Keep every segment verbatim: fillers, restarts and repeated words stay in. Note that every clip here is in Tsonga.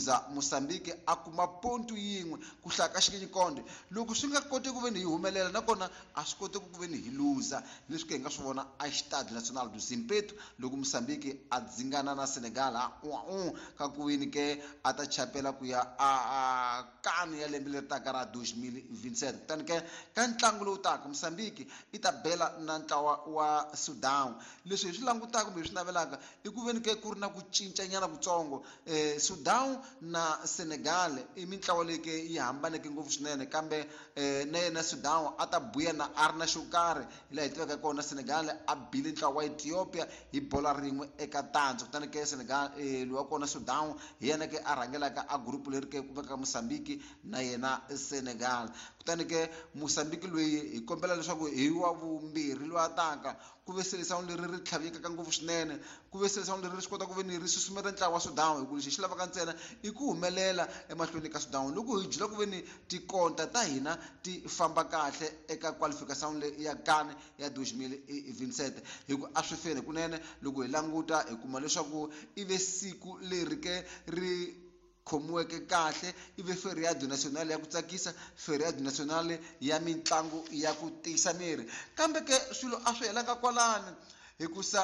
Za Mozambique a kuma pontu yin'we ku hlaya ka xikinyikonde loko swi nga koteki ku veni hi humelela nakona a swi koteki ku veni hi luza. Leswi ke hi nga swi vona a Stade National do Zimpeto loko Mozambique a dzingana na Senegal ha un ka ku veni ke a ta chapela ku ya a kani ya lembe leri taka ra two thousand twenty-seven. Kutani ke ka ntlangu lowu taka Mozambique i ta bela na ntlawa wa Sudan. Leswi hi swi langutaka kumbe hi swi navelaka i ku veni ke ku ri na ku cincanyana kutsongo. eh, Sudan na Senegal i mintlawa leyi ke yi hambaneke ngopfu swinene, kambe eh, na yena Sudan a ta buya na a ri na xo karhi hi laha hi tivaka kona. Senegal a bile ntlawa wa Ethiopia hi bola rin'we eka tandza. Kutani ke Senegal eh, loyi wa kona Sudan hi yena ke a rhangelaka a group leri ke ku vekaka Mozambique na yena Senegal. Kutani ke Mozambique loyi hi kombela leswaku hi wa vumbirhi loyi a taka ku ve seleção leri ri tlhavekaka ngopfu swinene, ku ve seleção leri ri swi kota ku ve ni ri susumeta ntlawa wa Sudan, hi ku lexi hi xi lavaka ntsena i ku humelela emahlweni ka Sudan. Loko hi jula ku ve ni tikonta ta hina ti famba kahle eka qualification leyi ya CAN ya two thousand twenty-seven, hi ku a swi feni kunene. Loko hi languta hi kuma leswaku i ve siku leri ke ri khomiweke kahle, i ve feriado national ya ku tsakisa, feriado national ya mitlangu ya ku tiyisa miri. Kambe ke swilo a swi helanga kwalani, hikusa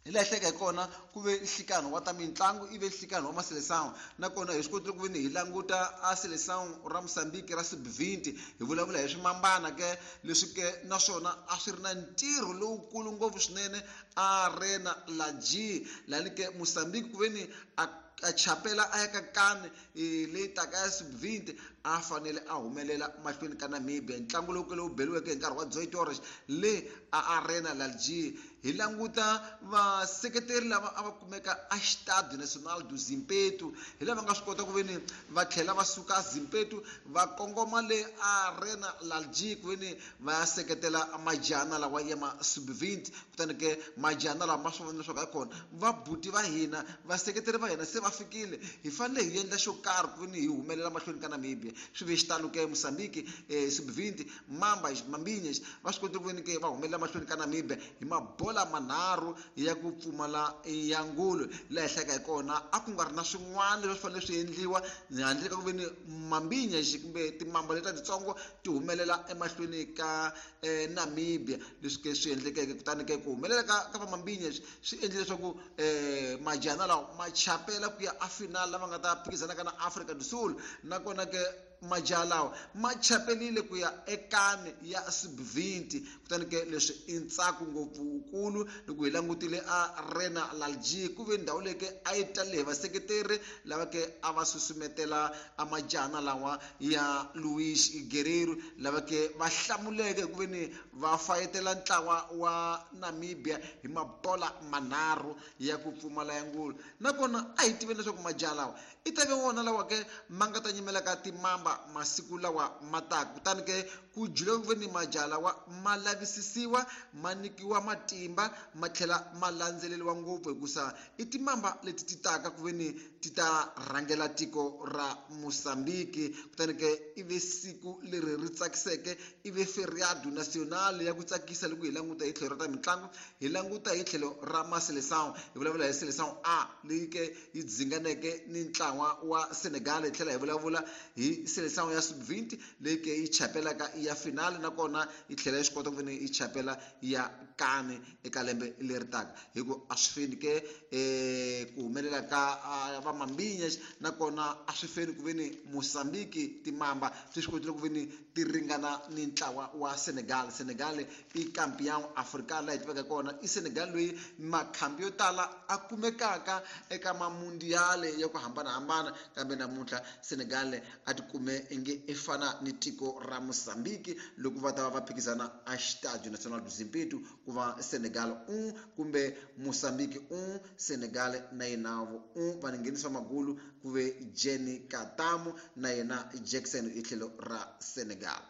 hi laha hleka hi kona ku ve nhlikano wa ta mitlangu, i ve nhlikano wa maseleção. Nakona hi swi kotile ku ve ni hi languta a seleção ra Mozambique ra sub twenty, hi vulavula hi swimambana ke leswi ke naswona a swi ri na ntirho lowukulu ngopfu swinene Arena Laji lani ke Mozambique ku ve ni a a chapela a ya ka CAN leyi taka ya sub twenty a fanele a humelela mahlweni ka Namibia. Ntlangu lowu ke lowu beriweke hi nkarhi wa Zoe Torres le a Arena Laji. Hi languta vaseketeri lava a va kumeka a Stade National do Zimpeto, hi lava nga swi kota ku ve ni va tlhela va suka Zimpeto va kongoma le Arena Laji ku ve ni va ya seketela majana lawa ya ma sub twenty. Kutani ke majana lawa ma swi vona leswaku hayikhona vabuti va hina vaseketeri va hina se va fikile, hi fanele hi endla xo karhi ku ve ni hi humelela mahlweni ka Namibia. Swi ve xitalo ke Mozambique eh, sub twenty Mamba Mambinha va swi kotile ku ve ni ke va humelela mahlweni ka Namibia hi mabola manharhu ya ku pfumala ya ngulu. Laha hi hlayaka hi kona a ku nga ri na swin'wana leswi fanele swi endliwa handle ka ku ve ni Mambinha kumbe timamba letiya titsongo ti humelela emahlweni ka eh, Namibia. Leswi ke swi endlekeke, kutani ke ku humelela ka ka va Mambinha swi endle leswaku eh, majana lawa ma chapela ku ya a final lava nga ta phikizana ka na Afrika do Sul. Nakona ke majaha lawa ma chapelile ku ya eCAN ya sub twenty. Kutani ke leswi i ntsako ngopfukulu loko hi langutile Arena Lalji ku ve ndhawu leyi ke a yi tale hi vaseketeri lava ke a va susumetela a majana lawa ya Luis Guerreiro, lava ke va hlamuleke hi ku ve ni va fayetela ntlawa wa Namibia hi mabola manharhu ya ku pfumala ya ngulu. Nakona a hi tiveni leswaku majaha lawa i ta ve wona lawa ke ma nga ta nyimela ka timamba masiku lawa ma taka. Kutani ke ku jula ku ve ni majaha lawa ma lavisisiwa, ma nyikiwa matimba, ma tlhela ma landzeleriwa ngopfu, hikusa i timamba leti ti taka ku ve ni ti ta rhangela tiko ra Mozambique. Kutani ke i ve siku leri ri tsakiseke, i ve feriado national ya ku tsakisa loko hi languta hi tlhelo ra ta mitlangu, hi languta hi tlhelo ra maseleção. Hi vulavula hi seleção A leyi ke yi dzinganeke ni ntlawa wa Senegal, hi tlhela hi vulavula hi seleção ya sub twenty leyi ke yi chapelaka ya finale, nakona yi tlhela yi swi kota ku ve ni yi chapela ya CAN eka lembe leri taka. Hi ku a swi feni ke eh, ku humelela ka va Mambinha, nakona a swi feni ku ve ni Mozambique timamba ti swi kotile ku ve ni ti ringana ni ntlawa wa Senegal. Senegal i campeão africano laha hi tivaka kona, i Senegal loyi makhambi yo tala a kumekaka eka mamundiale ya ku hambanahambana, kambe namuntlha Senegal a ti kume inge i fana ni tiko ra Mozambique loko va ta va va phikizana a Estádio Nacional do Zimpeto, ku va Senegal un kumbe Mozambique un, Senegal na yena un. Va nghenisa magulu ku ve Jenny Katamu na yena Jackson hi tlhelo ra Senegal.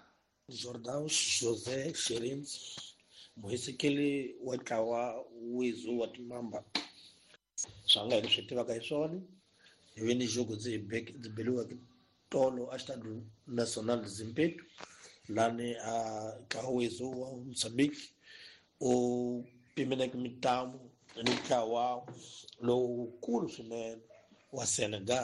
Jordan José Sherins, muhisekeli wa ntlawa wizu wa timamba, swa nga hi leswi tivaka hi swona hi ve ni jogo ndzi ndzi beliweke tolo a Estádio Nacional Zimpeto lani a ntlawa wizu wa Mozambique u pimeleke mitlangu ni ntlawa lowukulu swinene wa Senegal.